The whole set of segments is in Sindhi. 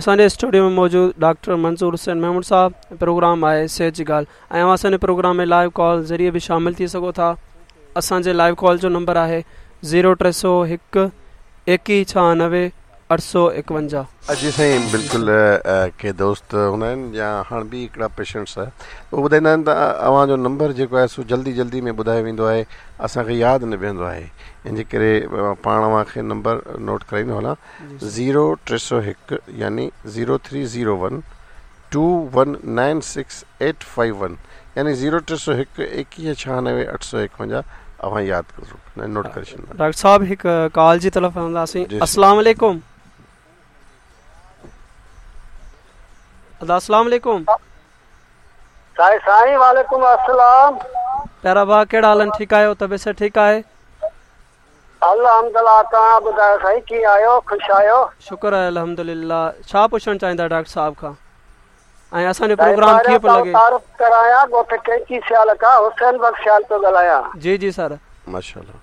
اسان جي اسٽوڊيو ۾ موجود ڊاڪٽر منظور حسين ميمڻ صاحب ۽ پروگرام آهي صحت جي ڳالهه ۽ اوهان اسان جي پروگرام ۾ لائيو ڪال ذريعي به شامل ٿي سگهو ٿا اسان جي لائيو ڪال جو نمبر آهي زيرو 301 21 96 851. جي سائين بلڪل ڪي دوست هوندا آهن يا هاڻ به هڪڙا پيشنٽس اهي ٻڌائيندا آهن ته اوهان جو نمبر جيڪو آهي سو جلدي جلدي ۾ ٻڌايو ويندو آهي اسان کي ياد نه بيهندو آهي ان جي ڪري پاڻ اوهان کي نمبر نوٽ ڪرائيندو هلان زيرو 301 يعني zero three zero one two one nine six eight five one يعني زيرو 301 21 96 851 اوهان ياد نوٽ ڪري ڇڏيندا. ڊاڪٽر صاحب هڪ ڪال جي طرف هلنداسين السلام عليڪم ادا السلام عليڪم. سائين سائين وعليڪم السلام. پيارا ڀاء ڪهڙا حال آهن ٺيڪ آهيو طبيعت صحت ٺيڪ آهي. الحمدلله توهان ٻڌايو سائين ڪيئن آهيو خوش آهيو. شڪر آهي الحمدلله ڇا پڇڻ چاهيندا ڊاڪٽر صاحب کان ۽ اسان جو پروگرام ڪيئن پيو لڳي. تعارف ڪرايان ڳوٺ ڪينچي سيال کان حسين بخش سيال پيو ڳالهايان. جي جي سر. ماشاءالله.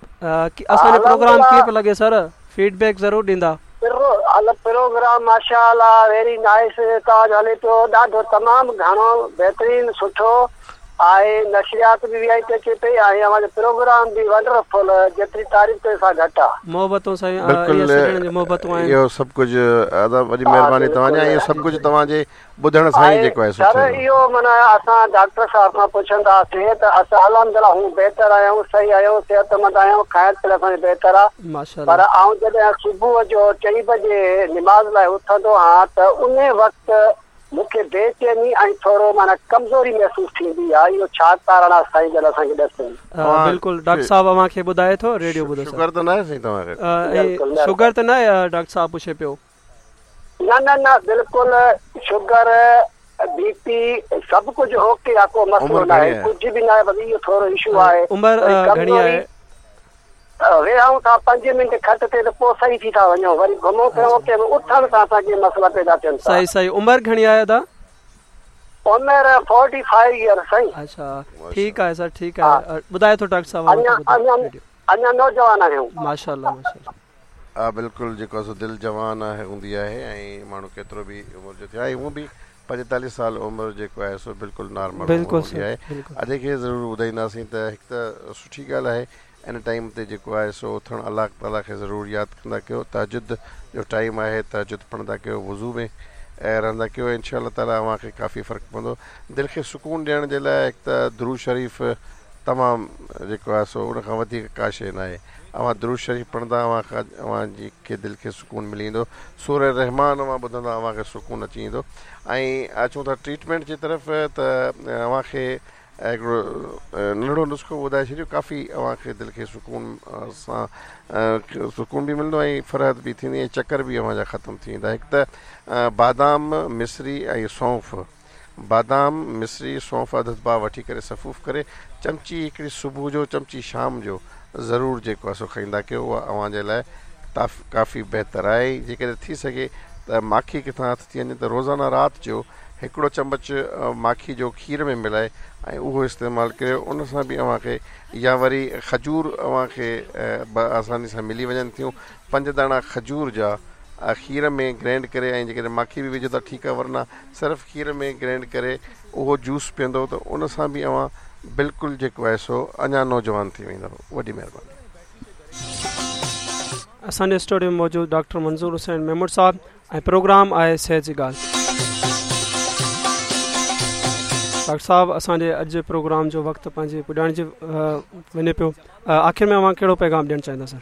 اسان جو پروگرام ڪيئن پيو لڳي سر فيڊ بيڪ ضرور ڏيندا. پروگرام ماشاءالله ويري نائيس توهان جو هلي پيو ڏاڍو تمام گهڻو بهترين سٺو آهي نشريات به وي آئي پي اچي پئي ۽ اوهان جو پروگرام به ونڊرفل جيتري تعريف ڪيو سا گهٽ آ. محبتون سائين اهي سڄڻن جون محبتون آهن. اهو سڀ ڪجهه ادا وڏي مهرباني توهان جي ۽ اهو سڀ ڪجهه توهان جي ٻڌڻ سان ئي جيڪو آهي سو سر اهو معنيٰ اسان ڊاڪٽر صاحب کان پڇنداسين ته اسان الحمدلله هون بهتر آهيون صحيح آهيون صحتمند آهيون کائڻ پيئڻ اسان جو بهتر آ پر آئون جڏهن صبح جو چئين بجي نماز لاء اٿندو آهيان ته انهي وقت مون کي بي چيني ۽ ٿورو معنيٰ ڪمزوري محسوس ٿيندي آهي اهو ڇا ڪارڻ آهي سائين جن اسان کي ڏسن. بلڪل ڊاڪٽر صاحب اوهان کي ٻڌائي ٿو ريڊيو ٻڌو سر. شگر ته ناهي سائين توهان کي. شگر ته ناهي ڊاڪٽر صاحب پڇي پيو. نه نه نه بلڪل شگر بي پي سڀ ڪجهه اوڪي آ ڪو مسئلو ناهي ڪجهه به ناهي بس اهو ٿورو اشو آهي عمر گهڻي آهي. ويهون ٿا پنج منٽ کٽ تي ته پوء صحيح ٿي ٿا وڃون وري گهمون ڦرون ڪنهن مهل اٿڻ سان اسان کي مسئلا پيدا ٿين ٿا. صحيح صحيح عمر گهڻي آهي ادا. عمر فورٽي فائيو ايئر سائين. اڇا ٺيڪ آهي سر ٺيڪ آهي ٻڌائي ٿو ڊاڪٽر صاحب اڃا اڃا اڃا نوجوان آهيون. ماشاءالله ماشاءالله. ها بلڪل جيڪو سو دل جوان آهي هوندي آهي ۽ ماڻهو ڪيترو به عمر جو ٿئي ۽ هونء به 45 سال عمر جيڪو آهي سو بلڪل نارمل عمر هوندي آهي ادي کي ضرور ٻڌائينداسين ته هڪ ته سٺي ڳالهه آهي ان ٽائيم تي جيڪو آهي سو اٿڻ الله تعالي کي ضرور ياد ڪندا ڪيو تهجد جو ٽائيم آهي تهجد پڙهندا ڪيو وضو ۾ رهندا ڪيو انشاء الله تعالي اوهان کي ڪافي فرق پوندو دل کي سڪون ڏيڻ جي لاء هڪ ته درود شريف تمام جيڪو آهي سو ان کان وڌيڪ ڪا شيء ناهي اوهان درود شريف پڙهندا اوهان کان اوهان جي کي دل کي سڪون ملي ويندو سوره رحمان اوهان ٻڌندا اوهان کي سڪون اچي ويندو ۽ اچون ٿا ٽريٽمينٽ جي طرف ته اوهان کي هڪڙو ننڍڙو نسخو ٻڌائي ڇڏيو ڪافي اوهان کي دل کي سڪون سان سڪون به ملندو ۽ فرحت به ٿيندي ۽ چڪر به اوهان جا ختم ٿي ويندا هڪ ته بادام مصري ۽ سونف بادام مصري سونف اڌ اڌ پاء وٺي ڪري سفوف ڪري چمچي هڪڙي صبح جو چمچي شام جو ضرور جيڪو آهي سو کائيندا ڪيو اها اوهان جي لاء ڪافي بهتر آهي جيڪڏهن ٿي سگهي ته ماکي ڪٿان هٿ ٿي وڃي ته روزانه رات جو هڪڙو چمچ ماکي جو کير ۾ ملائي ۽ اهو استعمال ڪريو ان سان به اوهان کي يا وري کجور اوهان کي آساني سان ملي وڃن ٿيون پنج داڻا کجور جا کير ۾ گرينڊ ڪري ۽ جيڪڏهن ماکي به وجهو ته ٺيڪ آهي ورنه صرف کير ۾ گرينڊ ڪري اهو جوس پيئندو ته ان سان به اوهان بلڪل جيڪو آهي سو اڃا نوجوان ٿي ويندؤ وڏي مهرباني. اسان جي اسٽوڊيو ۾ موجود ڊاڪٽر منظور حسين ميمڻ صاحب ۽ پروگرام آهي صحت جي ڳالهه. ڊاڪٽر صاحب اسان جي اڄ جي پروگرام جو وقت پنهنجي پڄاڻي جي وڃي پيو آخر ۾ اوهان ڪهڙو پيغام ڏيڻ چاهيندا سر.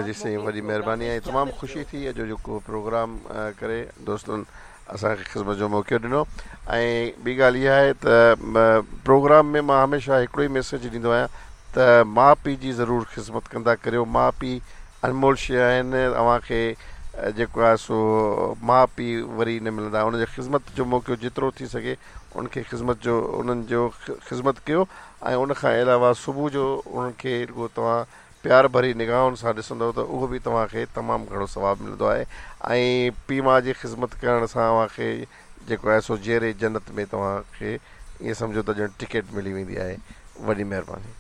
جي سائين وڏي مهرباني ۽ تمام خوشي ٿي اڄ جيڪو پروگرام ڪري دوستن اسان کي خدمت جو موقعو ڏنو ۽ ٻي ڳالهه اها آهي ته پروگرام ۾ مان هميشه هڪڙو ئي ميسيج ڏيندو آهيان ته ماء پيء جي ضرور خدمت ڪندا ڪريو ماء پيء انمول شيء آهن اوهان کي جيڪو آهي سو ماء پيء وري نه ملندا ان جي خدمت جو موقعو جيترو ٿي سگهي ان کي خدمت جو انهن جو خدمت ڪيو ۽ ان کان علاوه صبح جو انهن کي رڳو توهان پيار ڀري نگاهن سان ڏسندؤ ته اهو به توهان کي تمام گهڻو ثواب ملندو آهي ۽ پيء ماء جي خذمت ڪرڻ سان اوهان کي جيڪو آهي سو جيئري جنت ۾ توهان کي ائين سمجهو ته ڄڻ ٽڪيٽ ملي ويندي آهي. وڏي مهرباني.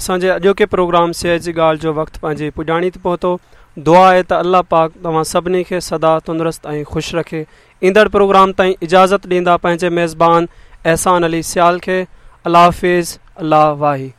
اسان جي اڄوڪي پروگرام صحت جي ڳالهه جو وقت پنهنجي پڄاڻي تي پهتو. دعا آهي ته الله پاڪ توهان سڀني کي سدا تندرست ۽ خوش رکي. ايندڙ پروگرام تائين اجازت ڏيندا پنهنجي ميزبان احسان علي سيال کي. الله حافظ الله واهي.